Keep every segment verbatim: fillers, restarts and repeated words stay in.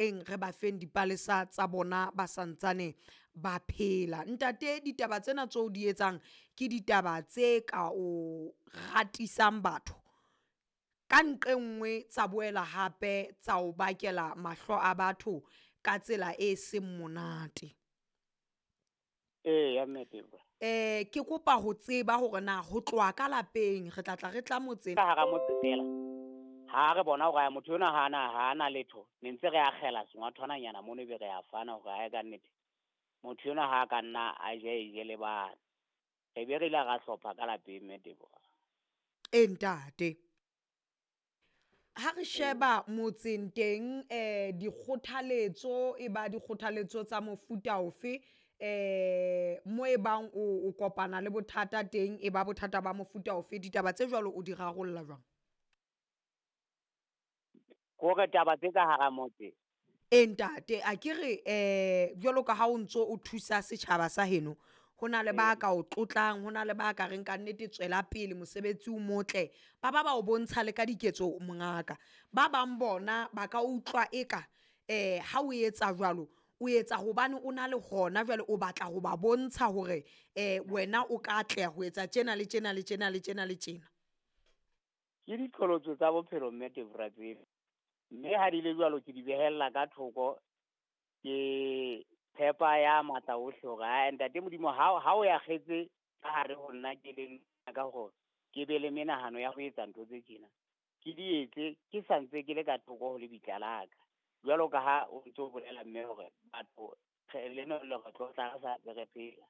Eng re ba feng dipalesa tsa bona ba santsane ba phela. Ntate, ditaba tsena tseo di etsang ke ditaba tse ka o ratisang batho ka nqe nngwe, tsa boela hape tsa o bakela mahlo a batho ka tsela e seng monate. Eya, mme Teboho. Eh ke kopa ho tseba hore na ho tloha ka lapeng re tla tla re tla motseng Ka hara motse fela, ha re bona hore motho enwa ha ana ha ana letho, ne ntse re akgela sengwathwananyana mono, ebe re a fana hore ae ka nnete motho enwa ha ka nna a je e je le bana. Re be re ile ra hlopha ka lapeng, mme Teboho. E ntate, ha re sheba motseng teng, eh dikgothaletso e ba dikgothaletso tsa mofuta ofe, eh mo e bang o o kopana le bothata teng, e ba bothata ba mofuta ofe, ditaba tse jwalo o di rarolla jwang? Kore taba tse ka hara motse. E ntate, a ke re eh jwalo ka ha o ntso o thusa setjhaba sa heno, ho na le ba ka o tlotlang, ho na le ba ka reng ka nnete tswela pele mosebetsi o motle, ba ba ba o bontsha le ka diketso mongaka. Ba bang bona ba ka utlwa eka eh ha o etsa jwalo, o etsa hobane o na le hona jwale o batla ho ba bontsha hore eh wena o ka atleha ho etsa tjena le tjena le tjena le tjena le tjena. Ke diqholotso tsa bophelo, mme Debora, tseo. Mme ha di le jwalo, ke di behella ka thoko, ke tshepa ya matla ohle hore ae ntate Modimo, ha ha o akgetse ka hare ho nna, ke leng ka hore ke be le menahano ya ho etsa ntho tse tjena, ke di etse ke sa ntse ke le ka thoko ho lebitla la ka. Jwalo ka ha o ntso bolela, mme, hore batho le no le re tlotla re sa ntse re phela,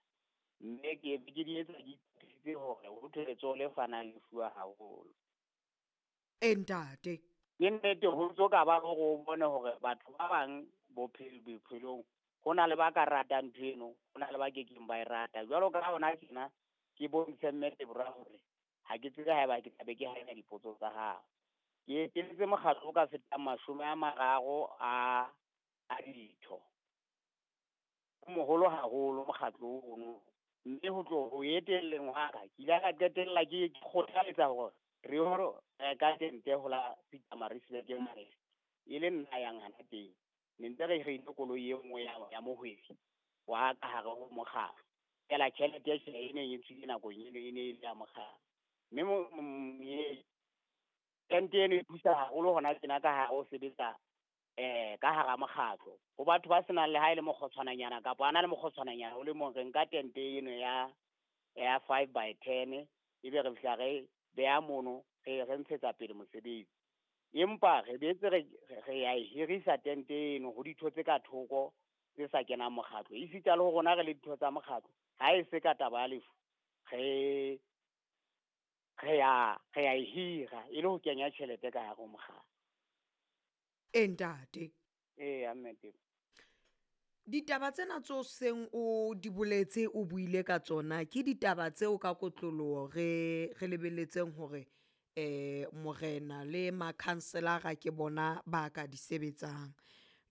mme ke ke di etsa ke itukisitse hore ho thwe letsoho le fanang le fuwa haholo. E ntate. Ke nnete, ho ntso ka ba hore o bone hore batho ba bang bophelo bophelong ho na le ba ka ratang ntho eno, ho na le ba kekeng ba e rata. Jwalo ka hona tjena ke bontshe, mme Debora, hore ha ke tsebe haeba ke tla be ke hanya dipotso tsa hao. Ke eteletse mokgatlo o ka fetang mashome a mararo a a ditho. O moholo haholo mokgatlo ono, mme ho tlo ho etelleng hwa ka, ke ile ka qetella ke kgothaletsa hore re yo reka tente ho la Pietermaritzburg mane, e le nna yang hana teng. Ne ntse re hirile koloi e nngwe ya, ya mohwebi wa ka hare ho mokgatlo. Feela tjhelete tjhe e neng e tswile nakong eno e ne e le ya mokgatlo. Mme tente eno e thusa haholo hona tjena ka hare ho sebetsa eh ka hara mokgatlo. Ho batho ba senang le ha e le mokgotshwananyana kapa a na le mokgotshwananyana o le mong, re nka tente eno ya ya five by ten, ebe re fihla re beha mono, re re ntshetsa pele mosebetsi. Empa re boetse re re ya e hirisa tente eno ho ditho tse ka thoko tse sa kenang mokgatlo. Esita le ho rona re le ditho tsa mokgatlo, ha e se ka taba ya lefu, re re ya re ya e hira e le ho kenya tjhelete ka hare ho mokgatlo. E ntate. Eya, mme Teboho. Ditaba tsena tseo seng o di boletse, o buile ka tsona, ke ditaba tseo ka kotloloho re re lebelletseng hore eh morena le makhanselara ke bona ba ka di sebetsang.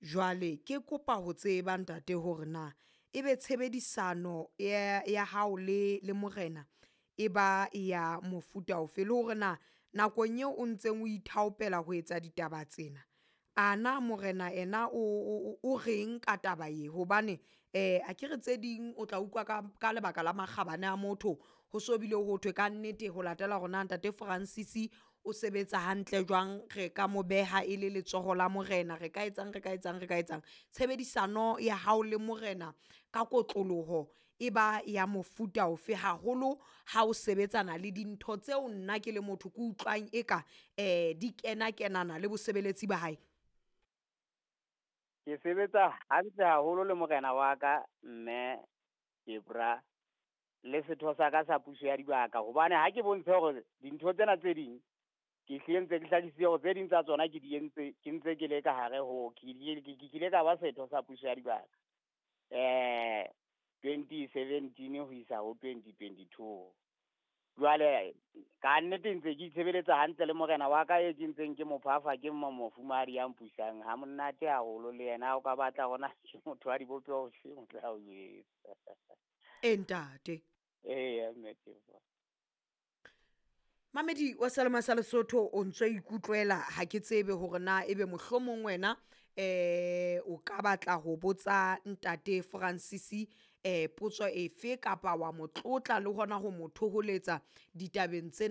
Jwale ke kopa ho tseba, ntate, hore na ebe tshebedisano ya ya hao le le morena e ba ya mofuta ofe, le hore na nakong eo o ntseng o ithaopela ho etsa ditaba tsena, ana morena ena o o o reng ka taba ye? Hobane eh akere tse ding o tla utlwa ka ka lebaka la makgabane a motho, ho so bile ho thwe ka nnete ho latela hore na ntate Francis o sebetsa hantle jwang, re ka mo beha e le letsoho la morena, re ka etsang, re ka etsang, re ka etsang. Tshebedisano ya hao le morena ka kotloloho e ba ya mofuta ofe, haholo ha o sebetsana le dintho tseo nna ke le motho ke utlwang eka eh di kena kenana le bosebeletsi ba hae? Ke sebetsa hantle haholo le morena wa ka, mme Debora, le setho sa ka sa puso ya dibaka, hobane ha ke bontshe hore dintho tsena tse ding ke hlile ntse ke hlakisitse hore tse ding tsa tsona ke di entse ke ntse ke le ka hare ho ke ile ke kile ka ba setho sa puso ya dibaka eh twenty seventeen ho isa ho twenty twenty two. Jwale ka nnete ntse ke itshebeletsa hantle le morena wa ka e ke ntseng ke mo phafa, ke mo mofumahadi ya mpusang ha monate haholo le yena. Ha o ka batla hona ke motho wa dibopeho tse o tla o jwetsa. E ntate. Eya, mme Teboho. Mamedi wa Selema sa Lesotho, o ntso ikutlwela, ha ke tsebe hore na ebe mohlomong wena Eh o ka batla ho botsa ntate Francis eh potso efe kapa wa mo tlotla le hona ho mo thoholetsa ditabeng tsena.